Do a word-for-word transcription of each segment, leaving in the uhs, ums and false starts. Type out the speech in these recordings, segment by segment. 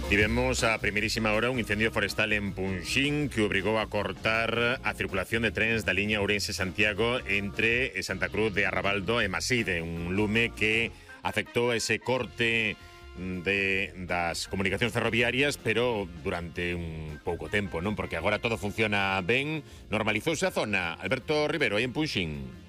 Tivemos a primeirísima hora un incendio forestal en Punxín que obrigou a cortar a circulación de trens da liña Ourense-Santiago entre Santa Cruz de Arrabaldo e Maside, un lume que afectou ese corte de das comunicacións ferroviarias, pero durante un pouco tempo, non? Porque agora todo funciona ben, normalizouse a zona. Alberto Rivero, aí en Punxín.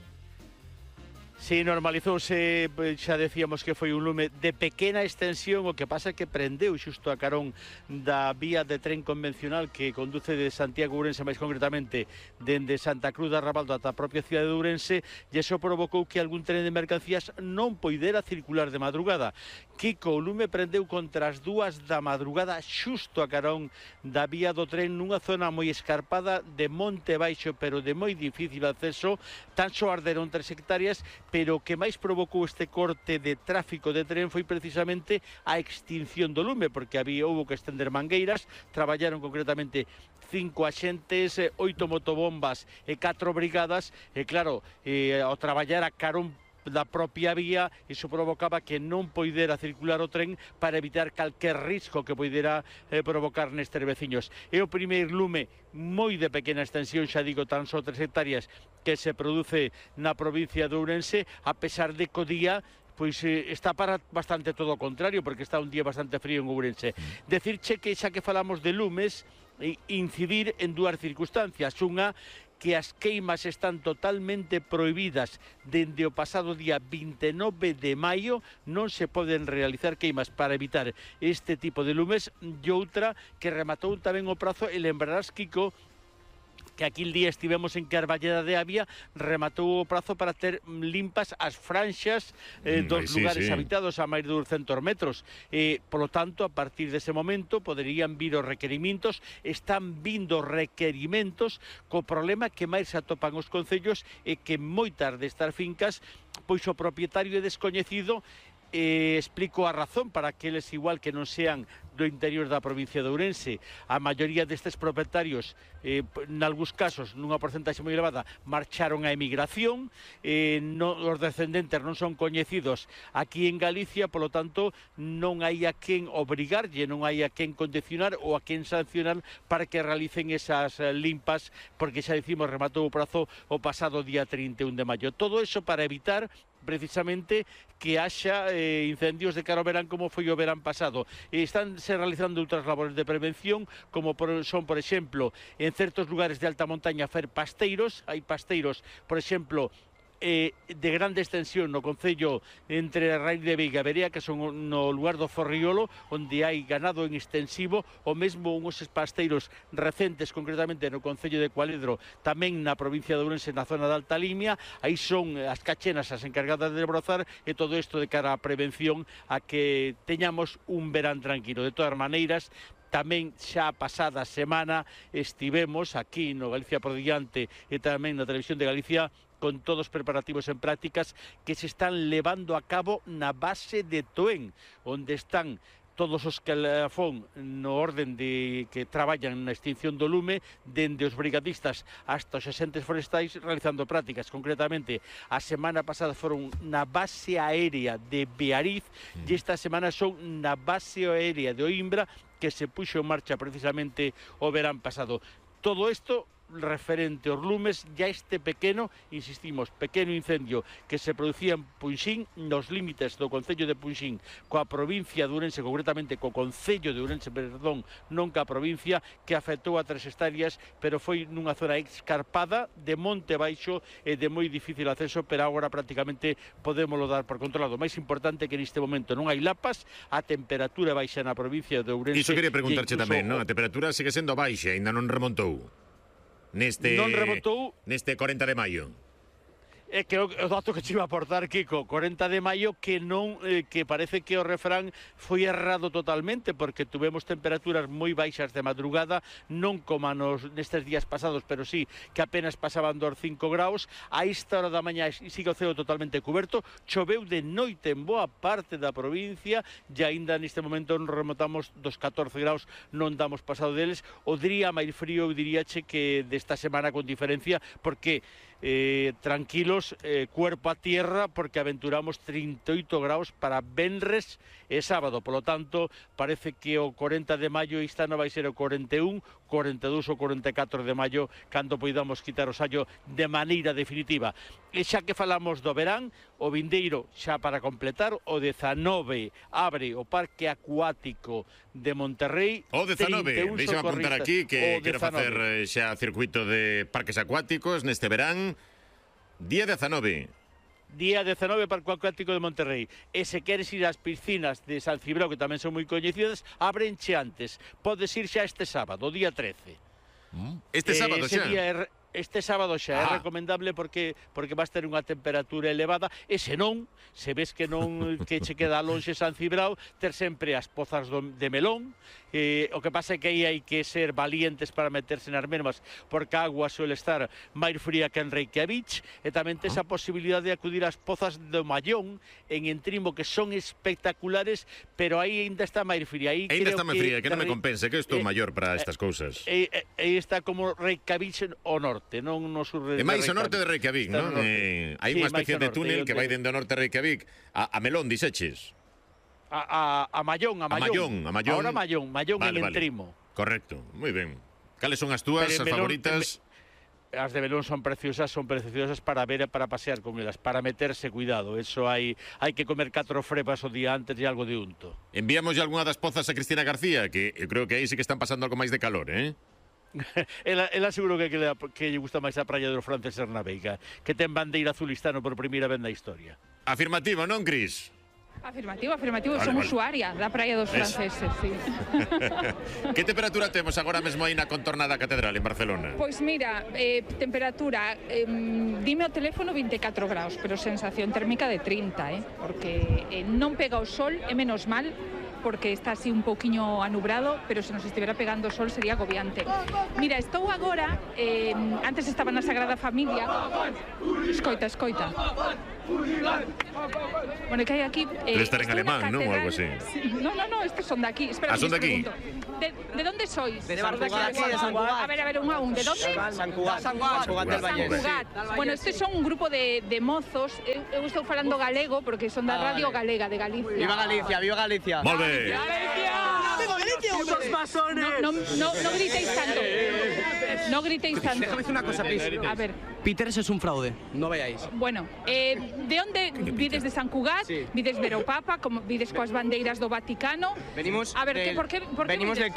Sí, normalizouse, xa decíamos que foi un lume de pequena extensión, o que pasa que prendeu xusto a carón da vía de tren convencional que conduce de Santiago a Ourense, máis concretamente dende Santa Cruz de Arrabaldo ata a propia cidade de Ourense, e iso provocou que algún tren de mercancías non poidera circular de madrugada. Kiko, o lume prendeu contra as dúas da madrugada xusto a carón da vía do tren nunha zona moi escarpada de monte baixo, pero de moi difícil acceso. Tan só arderon tres hectáreas, pero o que máis provocou este corte de tráfico de tren foi precisamente a extinción do lume, porque había houbo que estender mangueiras, traballaron concretamente cinco axentes, oito motobombas e catro brigadas, e claro, eh, ao traballar a carón da propia vía, iso provocaba que non poidera circular o tren para evitar calquer risco que poidera eh, provocar nestes veciños. É o primeiro lume moi de pequena extensión, xa digo, tan só tres hectáreas, que se produce na provincia de Ourense, a pesar de que o día pois eh, está para bastante todo o contrario, porque está un día bastante frío en Ourense. Decirche que xa que falamos de lumes, incidir en dúas circunstancias. Unha, que as queimas están totalmente prohibidas dende o pasado día vinte e nove de maio, non se poden realizar queimas para evitar este tipo de lumes, e outra, que rematou tamén o prazo, e lembrarás, Kiko, que aquí el día estivemos en Carballeda de Avia, rematou o prazo para ter limpas as franxas eh, dos sí, lugares sí. habitados a máis de duzentos metros. Eh, polo tanto, a partir dese momento, poderían vir os requerimentos, están vindo requerimentos, co problema que máis se atopan os concellos é que moitas destas fincas, pois o propietario é descoñecido. Eh, explico a razón para aqueles igual que non sean do interior da provincia de Ourense. A maioría destes propietarios, eh, nalgúns casos, nunha porcentaxe moi elevada, marcharon a emigración, eh, no, os descendentes non son coñecidos aquí en Galicia, polo tanto, non hai a quen obrigarlle, non hai a quen condicionar ou a quen sancionar para que realicen esas eh, limpas, porque xa dicimos, rematou o prazo o pasado día trinta e un de maio. Todo eso para evitar precisamente que haxa eh, incendios de cara ao verán como foi o verán pasado. E están se realizando outras labores de prevención, como por, son, por exemplo, en certos lugares de alta montaña fer pasteiros. Hai pasteiros, por exemplo, Eh, de grande extensión no concello entre Raíz de Veiga e Verea, que son no lugar do Forriolo, onde hai ganado en extensivo, o mesmo uns pasteiros recentes, concretamente no concello de Cualedro, tamén na provincia de Ourense, na zona de Alta Limia. Aí son as cachenas as encargadas de brozar, e todo isto de cara á prevención, a que teñamos un verán tranquilo. De todas maneiras, tamén xa a pasada semana estivemos aquí no Galicia por Diante e tamén na Televisión de Galicia con todos os preparativos en prácticas que se están levando a cabo na base de Toén, onde están todos os que fon no orden de que traballan na extinción do lume, dende os brigadistas hasta os axentes forestais realizando prácticas. Concretamente, a semana pasada foron na base aérea de Beariz, e esta semana son na base aérea de Oimbra, que se puxo en marcha precisamente o verán pasado. Todo isto referente aos lumes, ya este pequeno, insistimos, pequeno incendio que se producía en Punxín, nos límites do concello de Punxín coa provincia de Ourense, concretamente co concello de Ourense, perdón, non ca provincia, que afectou a tres hectáreas, pero foi nunha zona escarpada de monte baixo e de moi difícil acceso, pero agora prácticamente podémoslo dar por controlado. O máis importante que neste momento non hai lapas, a temperatura baixa na provincia de Ourense. Iso quería preguntarche tamén, non? A temperatura sigue sendo baixa, ainda non remontou. Neste, non remontou neste cuarenta de maio. É que o dato que te iba a aportar, Kiko, cuarenta de maio, que non eh, que parece que o refrán foi errado totalmente, porque tuvemos temperaturas moi baixas de madrugada, non como nos nestes días pasados, pero sí que apenas pasaban dos cinco graus. A esta hora da mañá sigue o ceo totalmente cuberto, choveu de noite en boa parte da provincia, e aínda neste momento non remontamos dos catorce graus, non damos pasado deles. O día máis frío, eu diríache que desta semana con diferencia, porque eh, tranquilos, menos eh, cuerpo a tierra, porque aventuramos trinta e oito graus para venres e sábado. Polo tanto, parece que o cuarenta de maio este ano vai ser o cuarenta e un, cuarenta e dous ou cuarenta e catro de maio, cando poidamos quitar o sallo de maneira definitiva. E xa que falamos do verán, o vindeiro, xa para completar, o dezanove abre o Parque Acuático de Monterrey. O dezanove, deixa-me apuntar aquí que quero facer xa circuito de parques acuáticos neste verán. Día dezanove. Día dezanove, Parque Acuático de Monterrey. E se queres ir ás piscinas de San Cibrao, que tamén son moi coñecidas, abrenche antes. Podes ir xa este sábado, o día trece. Este sábado xa? Día, este sábado xa ah. é recomendable porque porque vas ter unha temperatura elevada, e se non, se ves que non que che queda lonxe San Cibrao, ter sempre as pozas do, de melón. Eh, o que pasa é que aí hai que ser valientes para meterse nas mesmas, porque a agua suele estar máis fría que en Reykjavik, e tamén tes a posibilidade de acudir ás pozas do Mallón en Entrimo, que son espectaculares, pero aí ainda está máis fría. Aí ainda está máis fría, que non me compense, que estou eh, maior para estas cousas. Aí eh, eh, está como Reykjavik o norte, non no sur de Reykjavik. É máis o norte de Reykjavik, non? Eh, hai unha especie de túnel que vai dende o norte de Reykjavik a, a Melón, dixeches. A, a, a Mallón, a Mallón. A Mallón, Ahora Mallón, Mallón vale, en Entrimo. Vale. Correcto, moi ben. Cales son as túas, as Melón, favoritas? En, as de Melón son preciosas, son preciosas para ver e para pasear con elas, para meterse, cuidado. Eso hai hai que comer catro frepas o día antes e algo de unto. Enviamos ya algunha das pozas a Cristina García, que eu creo que aí sí que están pasando algo máis de calor, eh? ela, ela seguro que, que, que lle gusta máis a praia do Frances Hernaveiga, que ten bandeira azulistano por primeira vez na historia. Afirmativo, non, Cris? Afirmativo, afirmativo, vale, son vale. usuaria da praia dos franceses, sí. Que temperatura temos agora mesmo aí na contorna da Catedral en Barcelona? Pois mira, eh, temperatura, eh, dime o teléfono vinte e catro graus, pero sensación térmica de trinta, eh, porque eh, non pega o sol, é menos mal, porque está así un pouquiño anubrado, pero se nos estivera pegando o sol sería agobiante. Mira, estou agora, eh, antes estaba na Sagrada Familia, escoita, escoita. Bueno, que hai aquí... Eh, Debe estar en alemán, non? Ou algo así. Sí. No, no, no, estes son de aquí. Espera, ah, son de aquí? De, ¿De dónde sois? De San Cugat, de San Cugat. A ver, a ver, un a un. ¿De dónde? San Cugat. San Cugat. San Cugat. San Cugat. Bueno, estes son un grupo de, de mozos. Eu, eu estou falando galego porque son da Radio Galega de Galicia. Viva Galicia, viva Galicia. Molt bé. Viva Galicia. ¡Viva Galicia, unos masones! No, no, no gritéis tanto. No gritéis tanto. Déjame decir una cosa, please. A ver. Peters es un fraude, no veáis. Bueno, eh, de onde vides de San Cugat? Sí. Vides ver o Papa, como vides coas bandeiras do Vaticano? Venimos A ver, del, que, por que, por venimos vides? del